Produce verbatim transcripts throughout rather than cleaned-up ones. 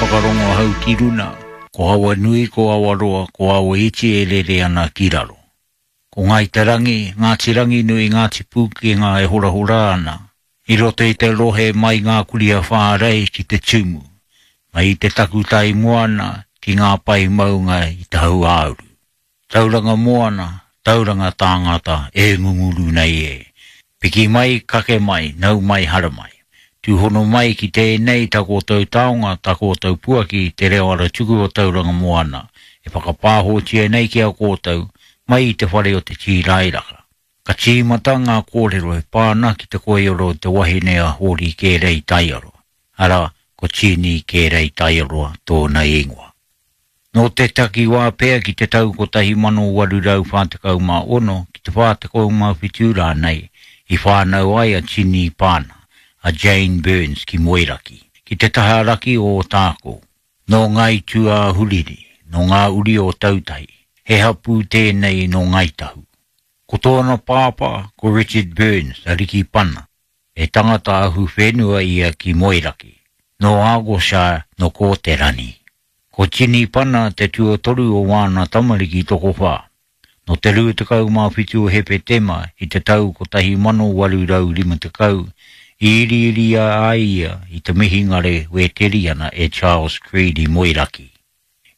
whakarongo hau ki runa, ko awa nui, ko awa roa, ko awa iti e rere ana ki raro. Ko Ngāi Te Rangi, Ngāti Ranginui, Ngāti Pūkenga e horahora ana, i roto i te rohe mai ngā kuria whārei ki te tumu, mai i te takutai moana ki ngā pai maunga i te hau āuru. Tauranga moana, tauranga tāngata e ngunguru nei e. Piki mai, kake mai, nau mai, haramai. Tūhono mai ki tēnei tā koutou taonga, tā koutou puaki, te reo ara tuku o Tauranga Moana, e whakapāhotia nei ki a koutou, mai i te whare o te Tīrairaka. Ka tīmata ngā kōrero e pā ana ki te koioro o te wahine a Hōri Kērei Taiaroa, arā, ko Tini Kērei Taiaroa tōna ingoa. Nō te takiwā pea ki te tau kotahi mano waru rau whā tekau mā ono ki te whā tekau mā whitu rānei i whānau ai a Tini Pana, a Jane Burns ki Moeraki, ki te taha raki o Ōtākou. Nō Ngāi Tūāhuriri, nō ngā uri o Tautahi, he hapū tēnei nō Ngāi Tahu. Ko tōna pāpā, ko Richard Burns, a Riki Pana, he tangata ahu whenua ia ki Moeraki, nō Argyllshire, nō Kōterani. Ko Tini Pana te tuatoru o wāna tamariki tokowhā. Nō te rua tekau mā whitu o Hepetema i te tau kotahi mano waru rau rima tekau, i iriiria ai ia i te mihingare Wēteriana e Charles Creed i Moeraki.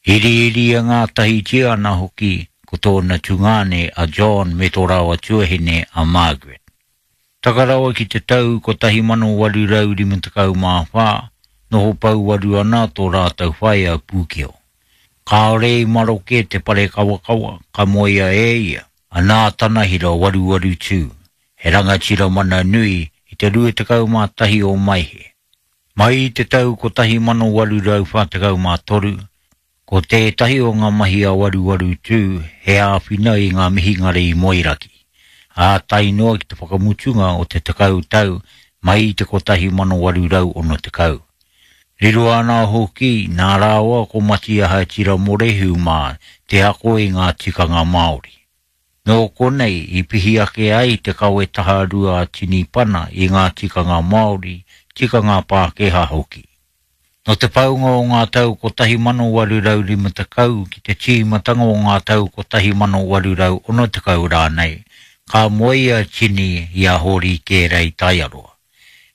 Iriiria ngātahitia ana hoki ko tōna tungāne a John me tō rāua tuahine a Margaret. Taka rawa ki te tau kotahi mano waru rau rima tekau mā whā, noho pouwaru ana tō rātou whaea Pūkeo. Kāore i maroke te pare kawakawa, ka moea e ia, a Nātana Hira waruwaru tū, he rangatira mana nui i te rua tekau mā tahi o Maehe. Mai i te tau kotahi mano waru rau whā tekau mā toru, ko tētahi o ngā mahi a waruwaru tū he āwhina i ngā mihingare i Moeraki, ā tae noa ki te whakamutunga o te tekau tau mai i te kotahi mano waru rau ono tekau. Riro ana hoki nā rāua ko Matiaha Tiramorehu mā te ako i ngā tikanga Māori. Nō konei i pihi ake ai te kawe taharua a Tini Pana i ngā tikanga Māori, tikanga Pākehā hoki. Nō te paunga o ngā tau kotahi mano waru rau rima tekau ki te tīmatanga o ngā tau kotahi mano waru rau ono tekau rānei, ka moe a Tini i a Hōri Kērei Taiaroa.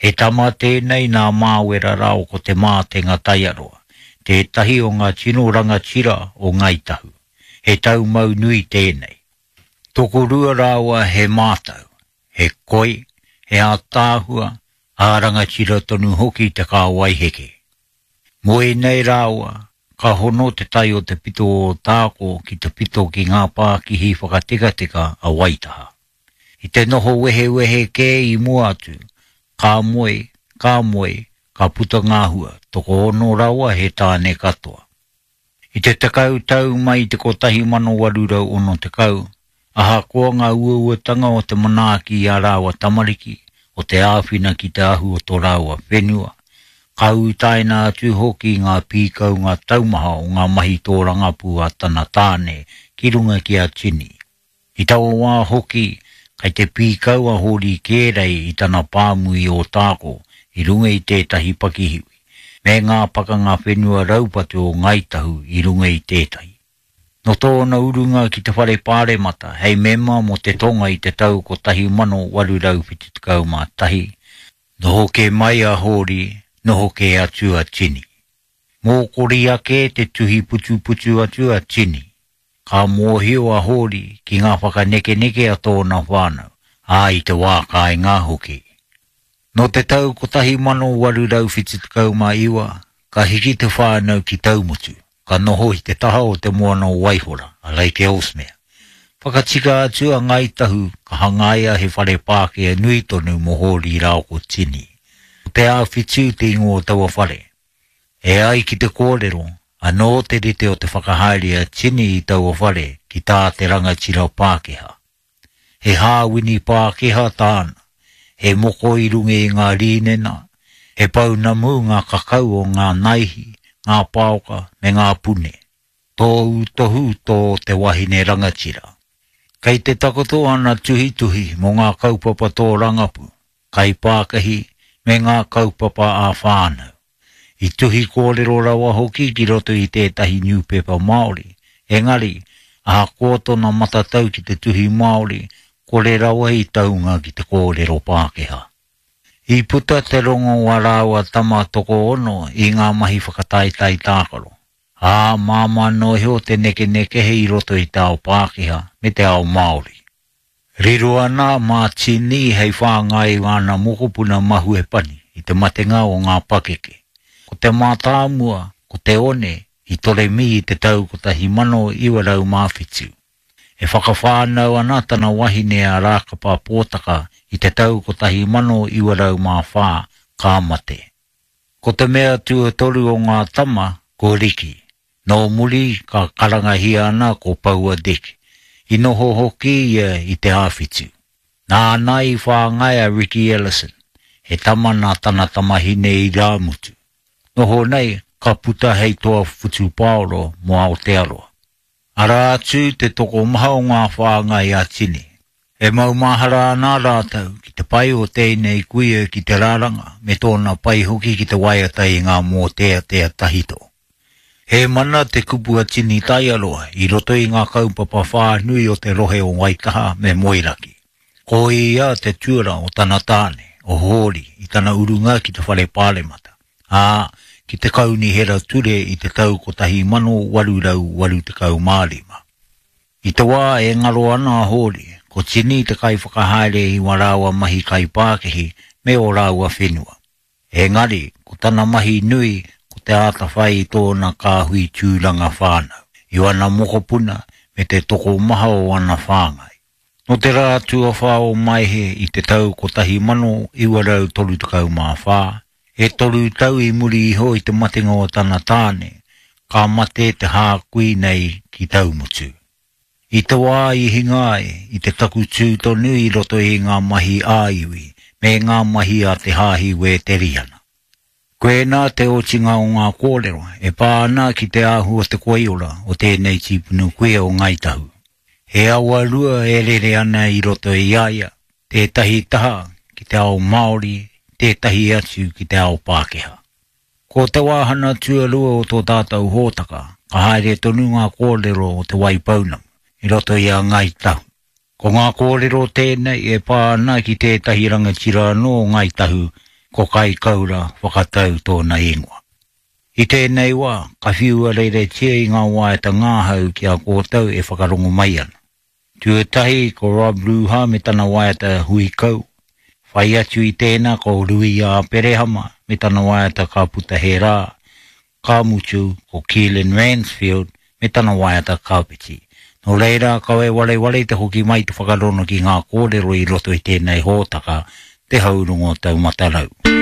He tama tēnei nā Māwera rāo ko Te Mātenga Taiaroa, tētahi o ngā tino rangatira o Ngāi Tahu. He taumau nui tēnei. Tokorua rāua he mātau, he koi, he ātaahua, ā rangatira tonu hoki te kāwai heke. Moe nei rāua, ka hono te tai o te pito o Ōtākou ki te pito ki ngā pākihi whakatekateka a Waitaha. I te noho wehewehe kē i mua atu, ka moe, ka moe, ka puta ngā hua, tokoono rawa he tāne katoa. I te tekau tau mai i te kotahi mano waru rau ono tekau, ahakoa ngā uauatanga o te manaaki i a rāua tamariki, o te āwhina ki te ahu o tō rāua whenua, ka utaina atu hoki ngā pīkaunga taumaha o ngā mahi tōrangapū a tana tāne ki runga ki a Tini. I taua wā hoki, kei te pīkau a Hōri Kērei i tana pāmu i Ōtākou i runga i tētahi pakihiwi, me ngā pakanga whenua raupatu o Ngāi Tahu i runga i tētahi. Nō tōna urunga ki te whare pāremata hei mema mō te tonga i te tau kotahi mano waru rau whitu tekau mā tahi, noho kē mai a Hōri, noho kē atu a Tini. Mōkori ake te tuhi putuputu atu a Tini. Ka mōhio a Hōri ki ngā whakanekeneke a tōna whānau, ā i te wā kāinga hoki. Nō te tau kotahi mano waru rau whitu tekau mā iwa, ka hiki te whānau ki Taumutu, ka noho i te taha o te moana o Waihora, a Lake Ellesmere. Whakatika atu a Ngāi Tahu ka hangaia he whare Pākehā nui tonu mō Hōri rāua ko Tini. Ko Te Āwhitu te ingoa o taua whare. E ai ki te kōrero, anō te rite o te whakahaere a Tini i taua whare ki tā te rangatira Pākehā. He hāwini Pākehā tāna, he moko i runga i ngā rīnena, he pounamu ngā kakau o ngā naihi, ngā paoka me ngā pune. Tōu tohu tō te wahine rangatira. Kei te takoto ana tuhituhi mō ngā kaupapa tōrangapū, kaipākahi me ngā kaupapa ā-whānau. I tuhi kōrero rawa hoki ki roto i tētahi newspaper Māori. Engari, ahakoa tōna matatau ki te tuhi Māori, kore rawa i taunga ki te kōrero Pākehā. I puta te rongo o ā rāua tama tokoono i ngā mahi whakataetae tākaro. Ā, māmā noa iho te nekenekehe i roto i te ao Pākehā me te ao Māori. Riro ana mā Tini hei whāngai i āna mokopuna mahue pani i te matenga o ngā pakeke. Ko te mātāmua, ko te One, i toremi i te tau kotahi mano iwa rau mā whitu. E whakawhānau ana tana wahine a Rākapa Pōtaka i te tau kotahi mano iwa rau mā whā, ka mate. Ko te mea tuatoru o ngā tama, ko Riki. Nō muri ka karangahia ana ko Paua Dick. I noho hoki ia i Te Āwhitu. Nāna i whāngai a Ricky Ellison, he tama nā tana tamahine irāmutu. Noho nei, ka puta hei toa whutupaoro mō Aotearoa. Arā atu te tokomaha o ngā whāngai a Tini. E maumahara ana rātou ki te pai o tēnei kuia ki te raranga me tōna pai hoki ki te waiata i ngā mōteatea tahito. He mana te kupu a Tini Taiaroa i roto i ngā kaupapa whānui o te rohe o Waitaha me Moeraki. Ko ia te tuara o tana tāne, o Hōri, i tana urunga ki te whare pāremata, ā, ki te kaunihera ture i te tau kotahi mano waru rau waru tekau mā rima. I te wā e ngaro ana a Hōri, ko Tini te kaiwhakahaere i wā rāua mahi kaipākihi me ō rāua whenua. Engari, ko tana mahi nui ko te ātawhai i tōna kāhui tūranga whānau, i wana mokopuna me te tokomaha o ana whāngai. Nō te rā tuawhā o Maehe i te tau kotahi mano iwa rau toru tekau mā whā, e toru tau i muri iho i te matenga o tana tāne, ka mate te hākui nei ki Taumutu. I te wā i hinga ai, i te takutū tonu i roto i ngā mahi ā-iwi me ngā mahi a te Hāhi Wēteriana. Koinā te otinga o ngā kōrero e pā ana ki te āhua o te koiora o tēnei tīpuna kuia o Ngāi Tahu. He awa rua e rere ana i roto i a ia, tētahi taha ki te ao Māori, tētahi atu ki te ao Pākehā. Ko te wāhanga tuarua o tō tātou hōtaka, ka haere tonu ngā kōrero o Te Waipounamu i roto i a Ngāi Tahu. Ko ngā kōrero tēnei e pā ana ki tētahi rangatira anō o Ngāi Tahu, ko Kaikaura Whakatau tōna ingoa. I tēnei wā, ka whiua reretia i ngā waiata ngāhau ki a koutou e whakarongo mai ana. Tuatahi ko Rob Ruha me tana waiata Huikau. Whai atu i tēnā ko Rui Āperehama me tana waiata Ka Puta He Rā. Ka mutu ko Keelan Ransfield me tana waiata Kāpiti. Nō reira, kaua e wareware te hoki mai te whakarono ki ngā kōrero i roto i tēnei hōtaka, Te Haurongo Taumata Rau.